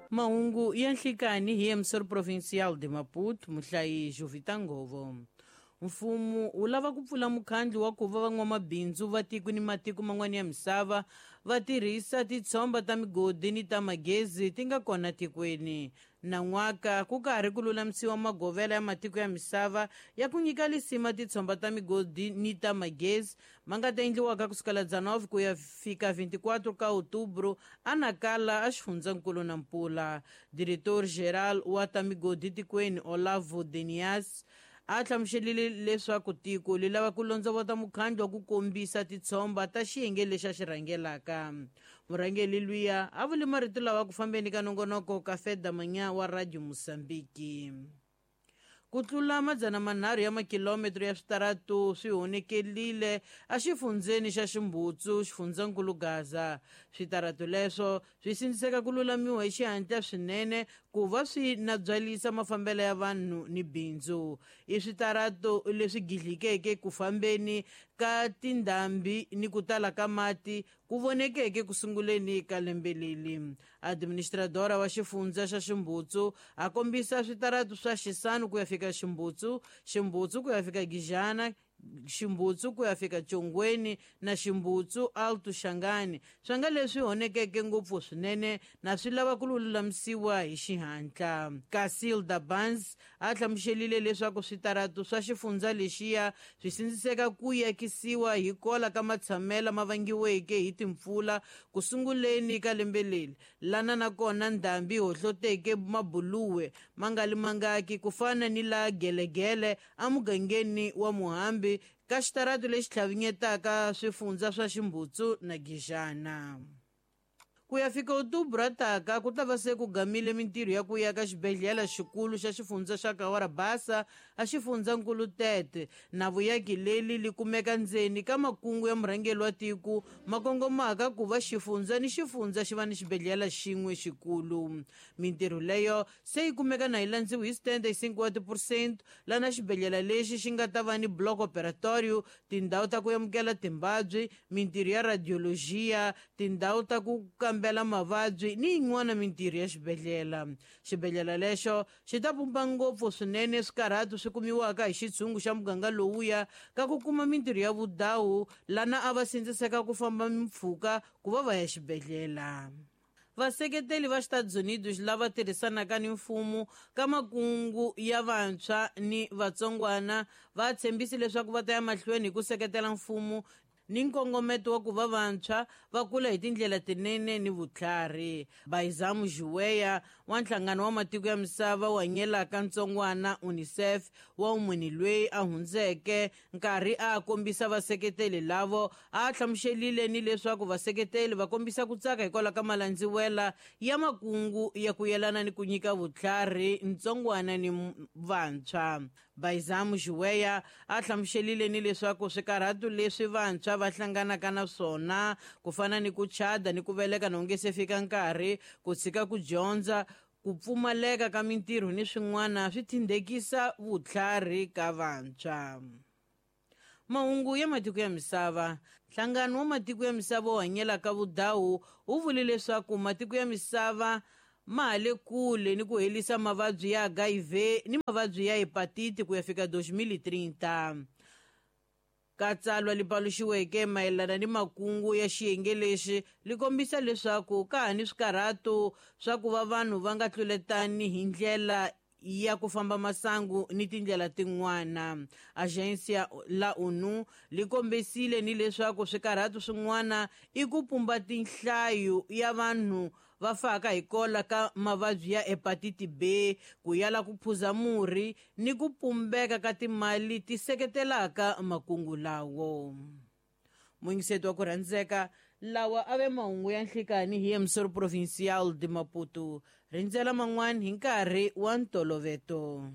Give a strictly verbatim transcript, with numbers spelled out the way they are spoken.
Mahungu ya nhlikani hi emissor provincial de Maputo, muhlayi Jovita Ngovo. Mfumo wu lava ku pfula mukhandlu wa ku va van'wamabindzu va tiko ni matiko man'wana ya misava va tirhisa titshomba ta migodi ni ta magezi ti nga kona tikweni. Nan'waka ku karhi ku lulamisiwa magovela ya matiko ya misava ya ku nyika lisima titshomba ta migodi ni ta magezi ma nga ta endliwaka kusukela dezenove ku ya fika vinte e quatro ka outubro a Nacala a xifundzankulu Nampula. Diretor geral wa ta migodi tikweni Olavo Denias a hlamuselile leswaku tiko li lava ku londzovota mukhandlu wa ku kombisa titshomba ta xiyenge lexi a xi rhangelaka. Murhangeri luya a vule marito lawa ku fambeni ka nongonoko Café da Manhã wa Radio Moçambique. Ku tlula madzana manharhu ya makilometro ya switaratu swi honekerile exifundzeni xa Ximbutsu, xifundzankulu Gaza. Switaratu leswo swi sindziseka ku lulamiwa hi xihatla swinene ku va swi nabyalisa mafambelo ya vanhu ni bindzu. I switaratu leswi gidlikeke ku fambeni ka tindhambi ni ku tala ka mati ku vonekeke ku sunguleni ka lembe leri. Administradora wa xifundza xa Ximbutsu a kombisa switaratu swa Xisanu ku ya fika Ximbutsu, Ximbutsu ku ya fika Gijana, Ximbutsu ku ya fika Chongweni na Ximbutsu Alto Xangani, swa nga leswi honekeke ngopfu swinene na swi lava ku lulamisiwa hi xihatla. Casilda Barnes a hlamuselile leswaku switaratu swa xifundza lexiya swi sindziseka ku yakisiwa hi kola ka matshamela ma vangiweke hi timpfula ku sunguleni ka lembe leri, lana nakona ndhambi hohloteke mabuluwe ma nga li mangaki ku fana ni la Gelegele emugangeni wa Muhambi ka xitaratu lexi tlhavinyetaka swifundza swa Ximbutsu na Gijana. Ku ya fika outubro ataka ku ta va se ku gamile mintirho ya ku ya ka xibedhlele xikulu xa xifundza xa Cahora Bassa a xifundzankulu Tete. Na vuyaki leli li kumeka ndzeni ka makungu ya murhangeri wa tiko ma kongomaka ku va xifundza ni xifundza xi va ni xibedhlele xin'we xikulu. Mintirho leyo se yi kumeka na yi landziwe hi setenta e cinco wa tiphesente, lana xibedhlele lexi xi nga ta va ni bloco operatorio, tindhawu ta ku amukela timbabyi, mintirho ya radiologia, tindhawu ta ku kambela mavabyi ni yin'wana mintirho ya xibedhlele. Xibedhlele lexo xi ta pumba ngopfu swinene swikarhatu swi kumiwaka hi xitshungu xa muganga lowuya ka ku kuma mintirho ya vudawu lana a va sindziseka ku famba mimpfhuka ku va va ya xibedhlele. Vaseketeli va Estados Unidos lava tirhisanaka ni mfumo ka makungu ya vantshwa ni vatsongwana va tshembise leswaku va ta ya mahlweni hi ku seketela mfumo ni nkongometo wa ku va vantshwa va kula hi tindlela tinene ni vutlhari. Baizamu Juweya wa nhlangano wa matiko ya misava wu hanyelaka ntsongwana UNICEF wa munhu loyi a hundzeke nkarhi a kombisa vaseketeli lavo a hlamuselile ni leswaku vaseketeli va kombisa ku tsaka hikwalaho ka malandziwela ya makungu ya ku yelana ni ku nyika vutlhari ntsongwana ni vantshwa. Baizamu Juweya a hlamuselile ni leswaku swikarhatu leswi vantshwa va hlanganaka na swona ku fana ni ku chada ni ku veleka na nge se fika nkarhi, ku tshika ku dyondza, ku pfumaleka ka mintirho ni swin'wana swi tindekisa vutlhari ka vantshwa. Mahungu ya matiko ya misava. Nhlangano wa matiko ya misava wu hanyelaka vudawu wu vule leswaku matiko ya misava ma ha le kule ni ku herisa mavabyi ya H I V ni mavabyi ya hepatiti ku ya fika dois mil e trinta. Ka tsalwa li paluxiweke mayelana ni makungu ya xiyenge lexi li kombisa leswaku ka ha ni swikarhatu swa ku va vanhu va nga tluletani hi ndlela ya ku famba masangu ni tindlela tin'wana. Agência la ONU li kombisile ni leswaku swikarhatu swin'wana i ku pumba tinhlayo ya vanhu va faka hi kola ka mavabyi ya hepatiti B, ku yala ku phuza murhi ni ku pumbeka ka timali ti seketelaka makungu lawo. Muyingiseti wa ku rhandzeka, lawa a ve mahungu ya nhlikani hi emissor provincial de Maputo. Rindzela man'wana hi nkarhi wa ntoloveto.